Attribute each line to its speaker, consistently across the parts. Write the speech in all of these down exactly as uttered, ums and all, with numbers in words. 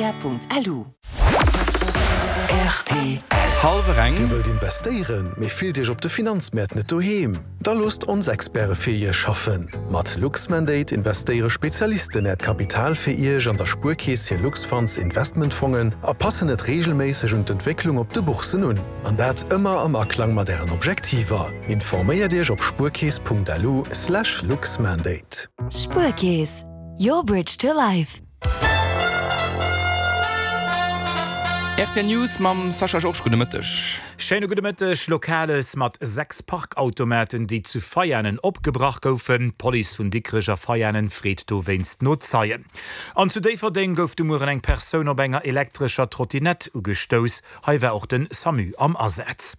Speaker 1: Auria.lu.
Speaker 2: Rtl.
Speaker 3: Hallwer eng.
Speaker 4: Dir wëllt investéieren, mee fillt Iech op de Finanzmäert net doheem? Da loosst ons Experte fir Iech schaffen. Mat Luxmandate investéiere Spezialisten Äert Kapital fir Iech an der Spuerkeess hir Luxfunds Investmentfongen a passen et reegelméisseg un d'Entwécklung op de Bourssen un. An dat ëmmer am Aklang mat Ären Objektiver. Informéiert Iech op spuerkeess.lu slash luxmandate.
Speaker 5: Spuerkeess, your bridge to life.
Speaker 3: Rtl News mam Sascha Georges, gudde Mëtteg.
Speaker 6: Schéine gudde Mëtteg. Lokales mat sechs Parkautomaten, déi zu Veianen opgebrach goufen. D'Police vun Dikrech a Veianen freet dowéinst no Zeien. An zu Déifferdeng gouf de Mueren eng Persoun op enger elektrescher Trottinett ugestouss. Hei war och de Samu am Asaz.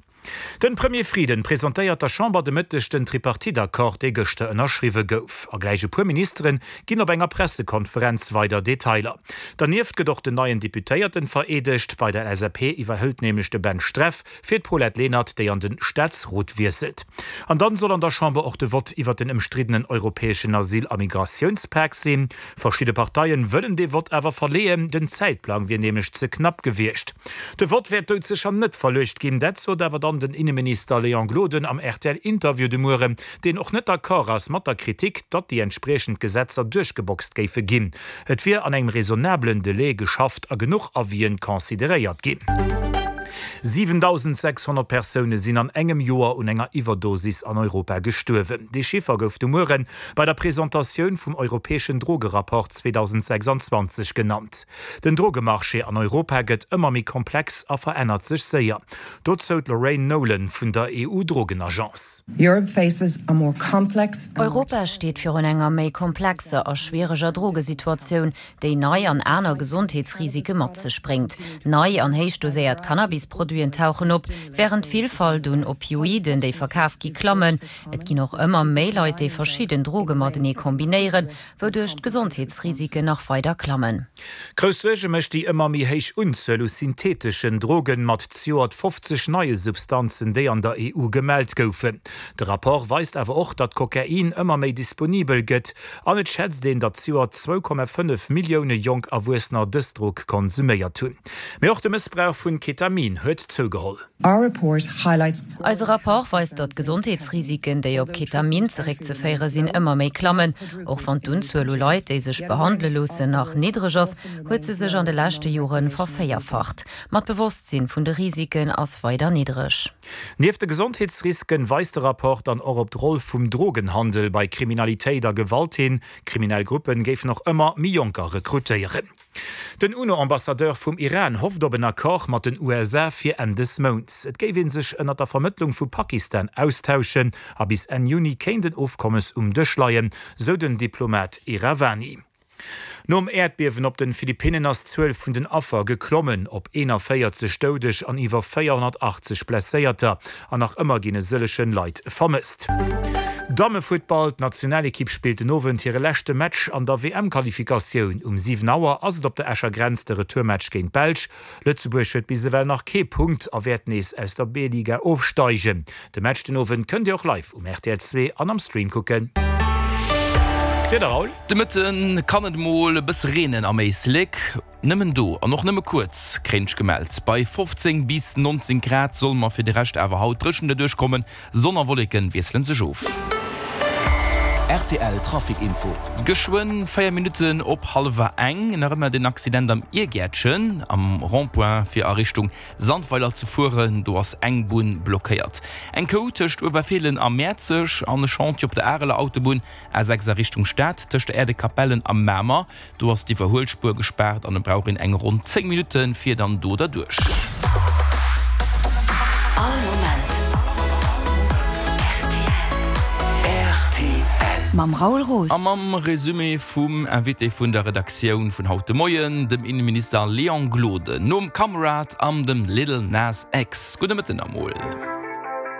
Speaker 6: Den Premier Frieden presentéiert der Chamber de Mëtteg den Tripartite-Accord, dee gëschter ënnerschriwwe gouf. A gläich e puer Ministeren ginn op enger Pressekonferenz weider Detailer. Dernieft gëtt och den neien Deputéierten vereedegt. Bei der L S A P iwwerhëlt nämlech de Ben Streff fir d'Paulette Lenert, déi an de Staatsrot wiesselt. An dann soll an der Chamber och de Vott iwwer den ëmstriddenen europäeschen Asyl a Migratiounspak sinn. Verschidde Parteien wëllen dee Vott awer verleeën, den Zäitplang wier nämlech ze knapp gewiescht. De Vott wäert doudsécher net verluecht ginn, dat sot awer dann den Inneminister Léon Gloden am R T L-Interview de Mueren, deen och net d'accord ass mat der Kritik, datt déi entspriechend Gesetzer duerchgeboxt géife ginn. Et wier an engem raisonnablen Delai geschafft a genuch Avisen consideréiert ginn. siwentausendsechshonnert Persoune sinn an engem Joer un enger Iwwerdosis an Europa gestuerwen. Dee Chiffer gouf de Muere bei der Presentatioun vum europäeschen Drogerapport zweedausendsechsanzwanzeg genannt. Den Drogemarché an Europa gëtt ëmmer méi komplex a verännert sech séier. Dozou d'Lorraine Nolan vun der E U-Drogenagence.
Speaker 7: Europa steet virun enger méi komplexer a schwiereger Drogesituatioun, déi nei an aner Gesondheetsrisike mat sech bréngt. Nei an héich doséiert Cannabisproduiten tauchen op, wärend d'Villfalt un Opioiden, déi verkaf gi, klammen. Et ginn och ëmmer méi Leit, déi verschidden Droge matenee kombinéieren, wouduerch d'Gesondheetsrisiken nach weider klammen.
Speaker 6: Grouss Suerge mécht déi ëmmer méi héich Unzuel u syntheeteschen Drogen, mat zejoert fofzeg neie Substanzen, déi an der E U gemellt goufen. De Rapport weist awer och, datt Kokain ëmmer méi disponibel gëtt an et schätzt een, datt zejoert zwou Komma fënnef Millioune jonk Erwuessener dës Drog konsuméiert hunn. Mee och de Mëssbrauch vun Ketamin huet zougeholl.
Speaker 7: Eise Rapport weist, datt d'Gesondheetsrisiken, déi op Ketamin zeréckzeféiere sinn, ëmmer méi klammen. Och wann d'Unzuel u Leit, déi sech behandele loossen, nach niddreg ass, huet se sech an de leschte Jore vervéierfacht. Ma d'Bewosstsinn vun de Risiken ass weider niddreg.
Speaker 6: Nieft de Gesondheetsrisken weist de Rapport dann och op d'Roll vum Drogenhandel bei Kriminalitéit a Gewalt hin. Kriminell Gruppen géifen och ëmmer méi Jonker rekrutéieren. Den UNO-Ambassadeur vum Iran hofft op en Accord mat den U S A fir Enn des Mounts. Et géif ee sech ënner der Vermëttlung vu Pakistan austauschen a bis Enn Juni kéint en Ofkommes um Dësch leien, sou den Diplomat Iravani. Nom Äerdbiewen op den Philippinnen ass d'Zuel vun den Affer geklommen op eenanvéierzeg Doudeg an iwwer véierhonnertachtzeg Blesséierter. An nach ëmmer ginn e sëllegen Leit vermësst. Dammefuttball, D'Nationalekipp spillt den Owend hire leschte Match an der W M-Qualifikatioun. Um siwen Auer ass et op der Escher Grenz de Retourmatch géint d'Belsch. Lëtzebuerg huet bis ewell nach kee Punkt a wäert nees aus der B-Liga ofsteigen. De Match den Owend kënnt Dir och live um R T L zwee an am Stream kucken. D'Wieder, Raoul.
Speaker 3: De Mëtte kann et mol e bësse reenen am Éislek. Nëmmen do an och nëmme kuerz, kréien ech gemellt. Bei fofzéng bis nonzéng Grad solle mer fir de Rescht awer haut dréchen derduerch kommen. Sonn a Wolleke wiessele sech of.
Speaker 2: R T L Trafic Info.
Speaker 3: Geschwënn véier Minutten op hallwer eng, nach ëmmer den Accident am Iergäertchen am Rond-point fir a Richtung Sandweiler ze fueren, do ass eng Bunn blockéiert. Eng Kou tëscht Uewerfeelen a Mäerzeg an e Chantier op der Areler Autobunn A sechs a Richtung Stad tëscht der Aire de Capellen a Mamer, do ass d'Iwwerhuelspuer gespaart an et brauch een eng ronn zéng Minutte fir dann do derduerch.
Speaker 1: All Moment R T L.
Speaker 5: Mam Raoul Roos.
Speaker 3: A mam Resumé vum Invité vun der Redaktioun vun haut de Moien, dem Inneminister Léon Gloden, nom Kamerad an dem Lil Nas X. Gudde Mëtten emol.